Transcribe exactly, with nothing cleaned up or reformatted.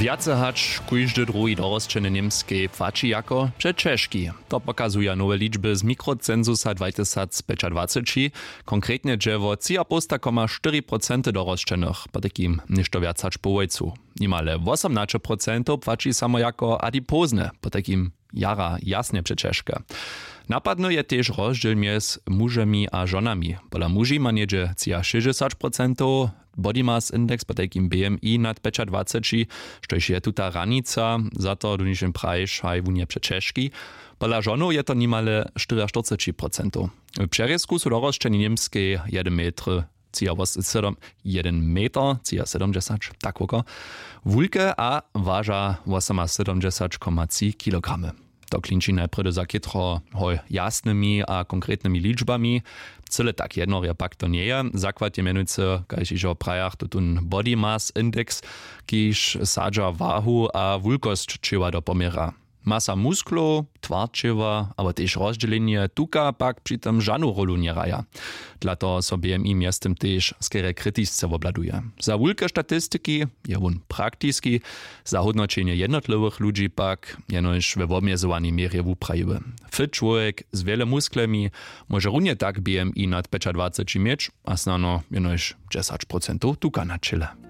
Wjace hač kóždy druhi dorosćeny w němskej płaći jako přećežki. To pokazuja nowe ličby z mikrocensusa dwatysacpjećadwaceći. Konkretnje dźe wo tři a połsta koma štyri procenty dorosćenych, potajkim něšto wjac hač połojcu. Nimale wosomnaće procentow płaći samo jako adipozne, potajkim jara jasnje přećežke. Napadny je tež rozdźěl mjez mužemi a žonami. Pola muži ma něhdźe třiašěsćdźesać procentow body mass index, potajkim bmi nad pjećadwaceći, štož je tuta hranica. Za to donišen prajiš haj wón je přećežki. Pola žonow je to nimale štyriaštyrceći procentow. W přerězku su dorosćeni w němskej jedyn metr třiasydomdźesat, jedyn meter třiasydomdźesat, tak woko, wulke a waža wosomasydomdźesat koma tři kilogramy. To klinči najprjedy za chětro hoj jasnymi a konkretnymi ličbami. Cyle tak jednorje pak to njeje. Zakład je mjenujcy, kaž hižo prajach, tutón body mass index, kiž sadźa wahu a wulkosć ćěła do poměra. Masa musklow, twar ćěła abo tež rozdźělenje tuka pak při tym žanu rólu njehraja. Dla toho so bmi mjeztym tež skerje kritisce wobhladuje. Za wulke statistiki je wón praktiski, za hódnoćenje jednotliwych ludźi pak jenož we wobmjezowanej měrje wuprajiły. Fit čłowjek z wjele musklemi móže runje tak bmi nad pjećadwaceći měć a snano jenož dźesać procentow tuka na ćěle.